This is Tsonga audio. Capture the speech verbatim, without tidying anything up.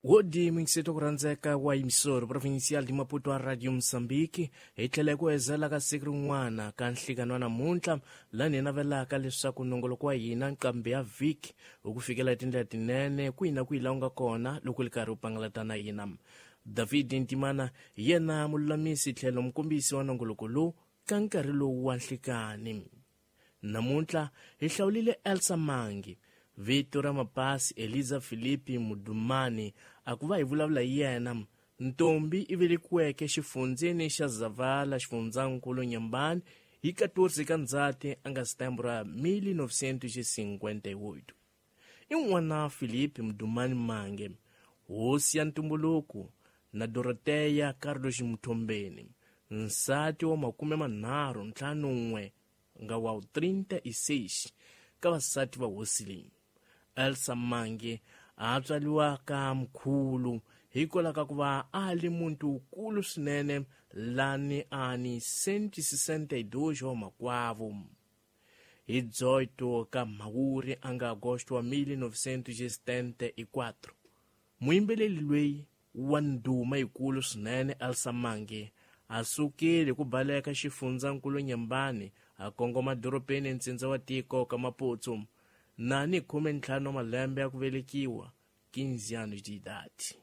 Wodi mingiseto ku rhandzeka wa yimisoro provincial di Maputo wa Radio Mozambique hi tlhela ku ezela ka siku rin'wana ka nhlikano wa namuntlha laha hi navelaka leswaku nongoloko wa hina nqambi ya vhiki hi ku fikela hi tindlela tinene kwihi na kwihi laha u nga kona loko li karhi u pangalata na hina. David Ntimana hi yena mululamisi tlhelo mukombisi wa nongoloko lowu ka nkarhi lowu wa nhlikani. Namuntlha hi hlawulile Elsa Mangi, vito ra mapasi Eliza Filipi Mudumani, a ku va hi vulavula hi yena. Ntombi i velekiweke xifundzeni xa Zavala, xifundzankulu Nyambani, hi quatorze ka Ndzhati a nga sitembu ra mil novecentos e cinquenta e oito. I n'wana Filipi Mudumani Mange, hosi ya ntumbuluko, na Doroteya Carlos Mthombeni, nsati wa makume manharhu ntlhanu n'we nga wa trinta e seis ka vasati va hosi leyi. Elsa Mangi a tswariwa ka mkhulu hikwalaho ka ku va a li muntu wukulu swinene lani a ni cento e sessenta e dois wa makwavo. Hi dezoito ka Mhawuri a nga agosto wa mil novecentos e setenta e quatro. Muyimbeleli loyi wa ndhuma yikulu swinene Elsa Mangi a sukile ku baleka xifundzankulu Nyambani a kongoma dorobeni ntsindza wa tiko ka Maputo na ni khume ntlhanu wa malembe ya ku velekiwa, quinze anos de idade.